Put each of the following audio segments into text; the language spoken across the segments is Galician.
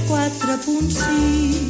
104.6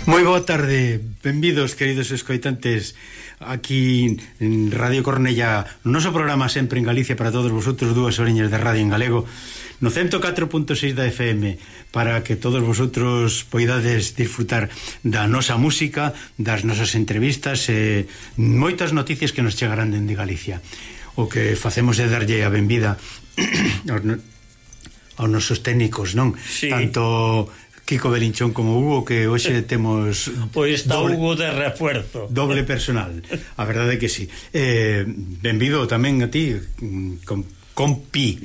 Moi boa tarde, benvidos queridos escoitantes aquí en Radio Cornellá, no noso programa sempre en Galicia para todos vosotros, 2 horiñas de radio en galego no 104.6 da FM, para que todos vosotros poidades disfrutar da nosa música, das nosas entrevistas e moitas noticias que nos chegarán dende Galicia. O que facemos é darlle a benvida aos nosos técnicos, non? Sí. Tanto Kiko Belinchón como Hugo, que hoxe temos pois está Hugo de refuerzo, doble personal, a verdade é que sí. Benvido tamén a ti, compi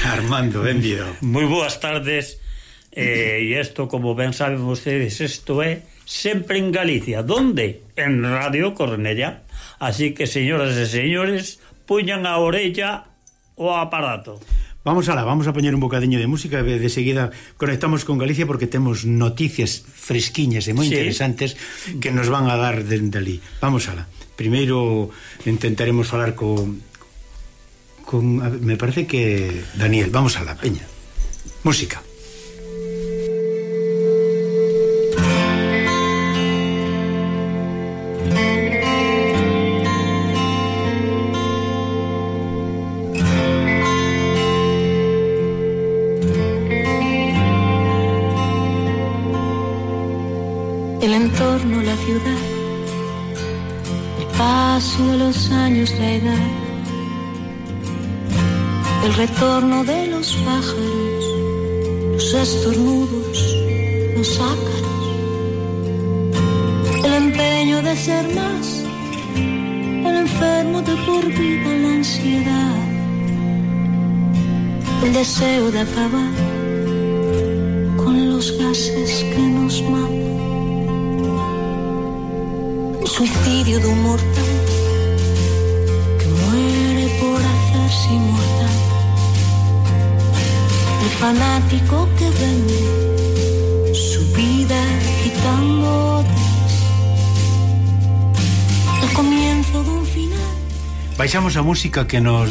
Armando, benvido. Moi boas tardes. E isto, como ben saben vostedes, isto é sempre en Galicia. Donde? En Radio Cornellá. Así que, señoras e señores, puñan a orella o aparato. Vamos a poñer un bocadiño de música e de seguida conectamos con Galicia porque temos noticias fresquiñas e moi interesantes que nos van a dar dende ali. Vamos alá. Primeiro intentaremos falar con me parece que Daniel. Vamos alá, peña. Música. El entorno, la ciudad, el paso de los años, la edad, el retorno de los pájaros, los estornudos, los ácaros, el empeño de ser más, el enfermo de por vida, la ansiedad, el deseo de acabar con los gases que nos matan. Suicidio de un mortal que muere por hacerse inmortal. El fanático que vende su vida quitando otras. El comienzo de un final. Baixamos a música que nos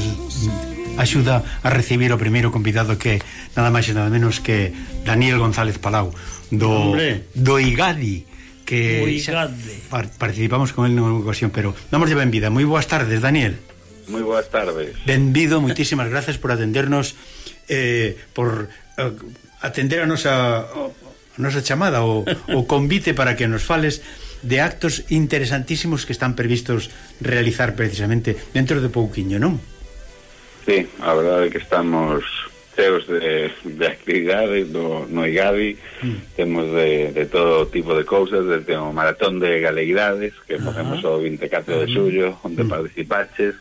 axuda a recibir o primeiro convidado, que nada máis e nada menos que Daniel González Palau do IGADI, que participamos con él nunha ocasión, pero damos de benvida. Moi boas tardes, Daniel. Moi boas tardes. Benvido, moitísimas gracias por atendernos, por atender a nosa chamada, o convite para que nos fales de actos interesantísimos que están previstos realizar precisamente dentro de pouquiño, non? Sí, a verdade é que estamos cheos de actividades no IGADI. Temos de todo tipo de cousas, desde o maratón de galeguidades que facemos o 24 de xullo, onde participaches,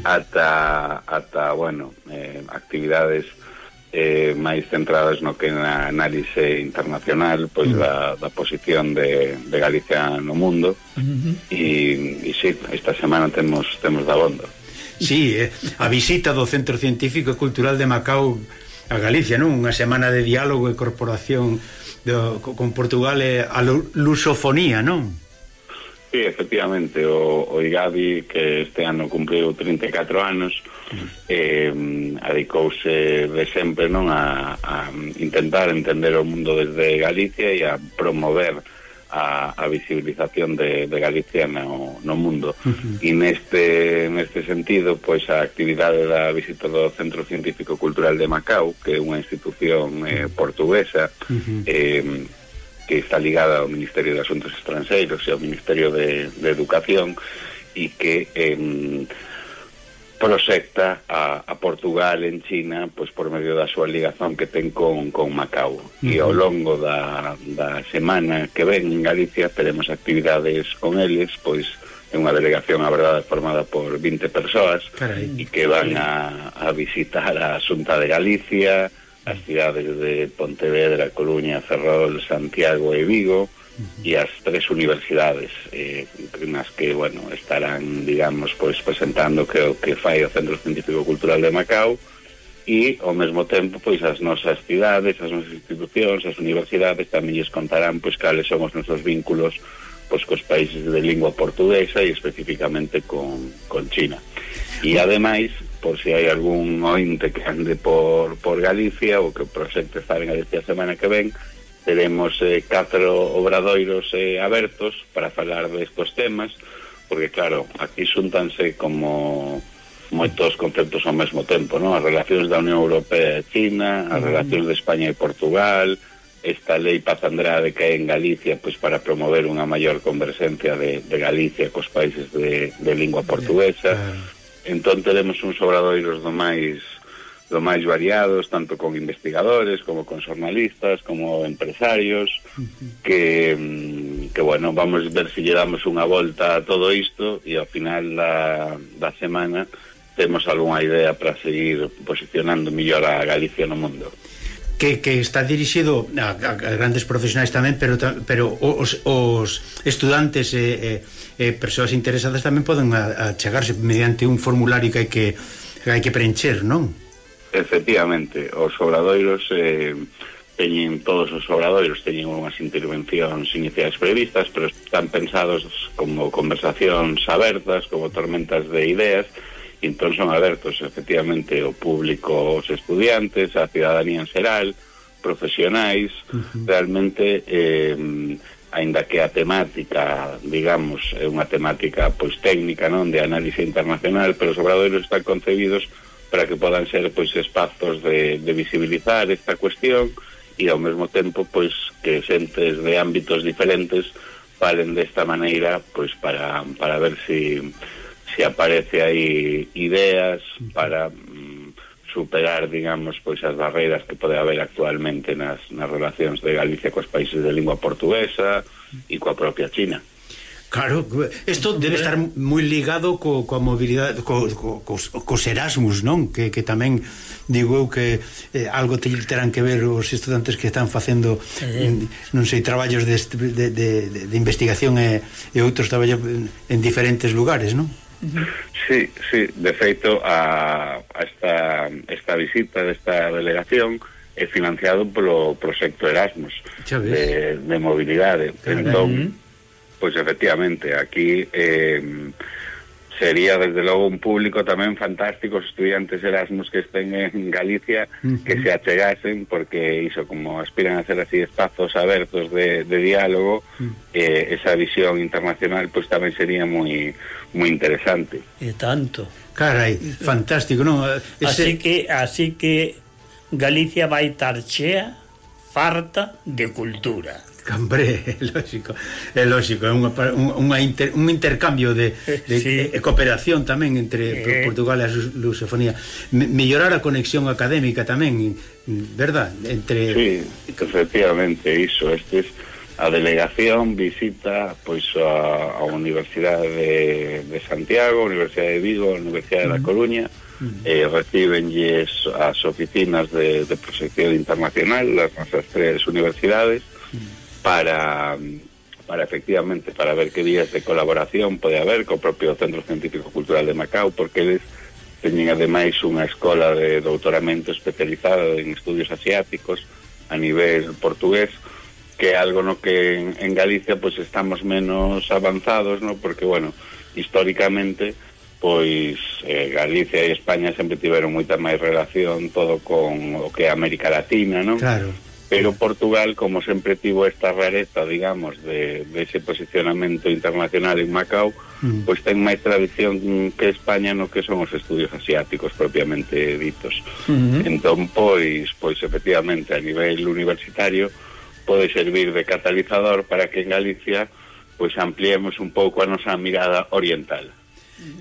ata bueno, actividades máis centradas no que na análise internacional, pois da posición de Galicia no mundo. E sí, esta semana temos dabondo. Sí, a visita do Centro Científico e Cultural de Macao a Galicia, non? Unha semana de diálogo e corporación con Portugal e a lusofonía, non? Sí, efectivamente, o IGADI, que este ano cumpriu 34 anos, adicouse de sempre, non, a intentar entender o mundo desde Galicia e a promover a visibilización de Galicia no mundo. E neste sentido, pois a actividade da visita do Centro Científico Cultural de Macao, que é unha institución portuguesa, que está ligada ao Ministerio de Asuntos Estranxeiros e ao Ministerio de Educación, e que proxecta a Portugal en China, pois por medio da súa ligazón que ten con Macao. E ao longo da semana que ven en Galicia teremos actividades con eles, pois é unha delegación, a verdade, formada por 20 persoas, e que van a visitar a Xunta de Galicia, as cidades de Pontevedra, Coruña, Ferrol, Santiago e Vigo, e as 3 universidades nas que, bueno, estarán, digamos, pois presentando o que fai o Centro Científico Cultural de Macao, e ao mesmo tempo, pois as nosas cidades, as nosas institucións, as universidades tamén lles contarán pois cales son os nosos vínculos pois cos países de lingua portuguesa e especificamente con China. E ademais, por si hai algún ointe que ande por Galicia ou que proxecte estar en Galicia a semana que ven, teremos 4 obradoiros abertos para falar destos temas, porque claro, aquí xuntanse como moitos conceptos ao mesmo tempo, non? As relacións da Unión Europea e China, as relacións de España e Portugal, esta lei Paz Andrade que hai en Galicia pois para promover unha maior converxencia de Galicia cos países de lingua portuguesa. Entón teremos uns obradoiros do máis variados, tanto con investigadores como con xornalistas, como empresarios, que bueno, vamos ver se lle damos unha volta a todo isto e ao final da semana temos algunha idea para seguir posicionando mellor a Galicia no mundo. Que está dirixido a grandes profesionais tamén, pero os estudantes e persoas interesadas tamén poden achegarse mediante un formulario que hai que preencher, non? Efectivamente, os obradoiros todos os obradoiros teñen unhas intervencións iniciais previstas, pero están pensados como conversacións abertas, como tormentas de ideas, e entón son abertos efectivamente ao público, os estudiantes, a cidadanía en xeral, profesionais. Realmente aínda que a temática, digamos, é unha temática pois técnica, non, de análise internacional, pero os obradoiros están concebidos para que podan ser pois espazos de visibilizar esta cuestión e ao mesmo tempo pois que xentes de ámbitos diferentes falen desta maneira pois para ver se aparece aí ideas para superar, digamos, pois as barreiras que pode haber actualmente nas relacións de Galicia cos países de lingua portuguesa e coa propia China. Claro, isto debe estar moi ligado coa mobilidade, cos Erasmus, non? Que tamén digo eu que algo terán que ver os estudantes que están facendo non sei, traballos de investigación e outros traballos en diferentes lugares, non? Sí, de feito esta visita desta delegación é financiado polo proxecto Erasmus de mobilidade. Entón, pois efectivamente aquí sería desde logo un público tamén fantástico, os estudiantes Erasmus que estén en Galicia, que se achegasen, porque iso, como aspiran a ser así espazos abertos de diálogo, esa visión internacional pues tamén sería moi interesante. E tanto. Carai, fantástico, non? Así que Galicia vai estar chea, farta de cultura. Hombre, é lógico, é un intercambio de sí, cooperación tamén entre Portugal e a lusofonía, mellorar a conexión académica tamén, verdad? Sí, efectivamente, iso, a delegación visita pois a Universidade de Santiago, a Universidade de Vigo, a Universidade da Coruña, recibenlles as oficinas de proxección internacional, as nosas 3 universidades, para efectivamente, para ver que vías de colaboración pode haber co propio Centro Científico Cultural de Macao, porque eles teñen ademais unha escola de doutoramento especializada en estudios asiáticos a nivel portugués, que é algo no que en Galicia pues estamos menos avanzados, ¿no? Porque, bueno, históricamente pois Galicia e España sempre tiveron moita máis relación todo con o que é América Latina, ¿no? Claro. Pero Portugal, como sempre tivo esta rareza, digamos, de ese posicionamento internacional en Macao, pois ten máis tradición que España no que son os estudios asiáticos propiamente ditos. Entón, pois efectivamente, a nivel universitario pode servir de catalizador para que en Galicia pois ampliemos un pouco a nosa mirada oriental.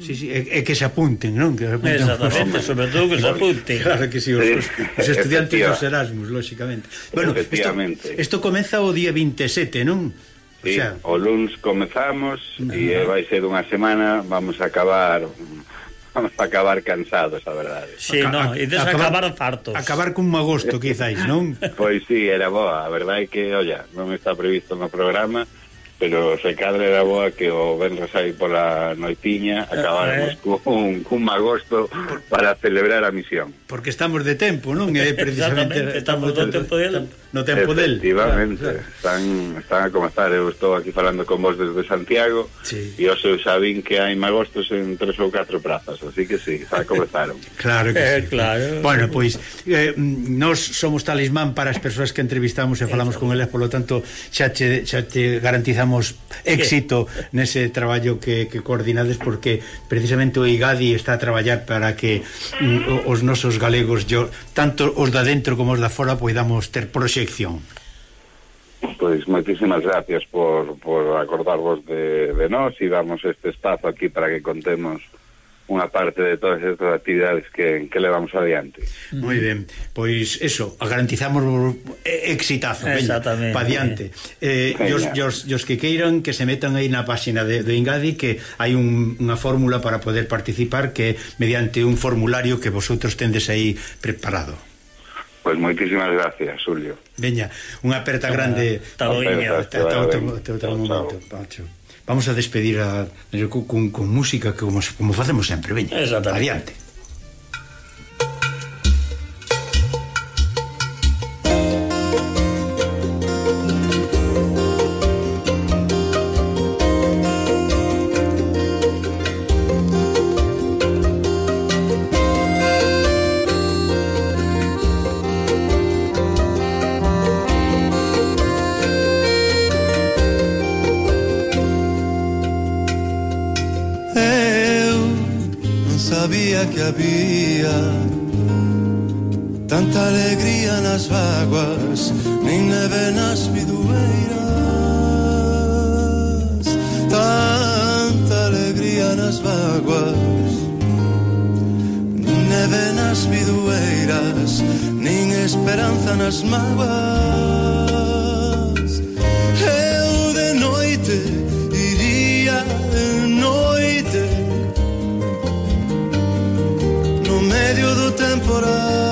Sí, é que se apunten, non? Que se apunten. Exactamente, sobre todo que se apunten. Claro que sí, os estudiantes dos Erasmus, lógicamente. Bueno, isto comeza o día 27, non? Sí, o luns comezamos e vai ser unha semana, vamos a acabar cansados, a verdade. Sí, non, e acabar fartos. Acabar cun agosto, quizáis, non? Pois sí, era boa, a verdade é que, olla, non está previsto no programa, pero se cadra era boa que o venres aí pola noitiña acabáramos cun agosto para celebrar a misión. Porque estamos de tempo, non? Precisamente, estamos no tempo del. No tempo del. Efectivamente, están a comezar. Eu estou aquí falando con vos desde Santiago, e os eu sabín que hai magostos en 3 ou 4 prazas, así que sí, xa comezaron. Claro que sí. Claro. Bueno, pois nós somos talismán para as persoas que entrevistamos e falamos con elas, polo tanto xa te garantizamos éxito nese traballo que coordinades, porque precisamente o IGADI está a traballar para que os nosos galegos, tanto os da dentro como os da fora, poidamos ter proxección. Pois moitísimas gracias por acordarvos de nós e darnos este espazo aquí para que contemos unha parte de todas estas actividades que levamos adiante. Moi ben, pois eso, garantizamos exitazo, pa diante. Os que queiran que se metan aí na página de Ingadi, que hai unha fórmula para poder participar, que mediante un formulario que vosotros tendes aí preparado. Pois moitísimas gracias, Julio. Veña, unha aperta grande. Ata outro momento, Pacho. Vamos a despedir con música como facemos sempre, veña, adiante. Que había tanta alegría nas vaguas, nin neve nas bidueiras, tanta alegría nas vaguas, nin neve nas bidueiras, nin esperanza nas mágoas. Eu de noite iría de noite medio do temporal.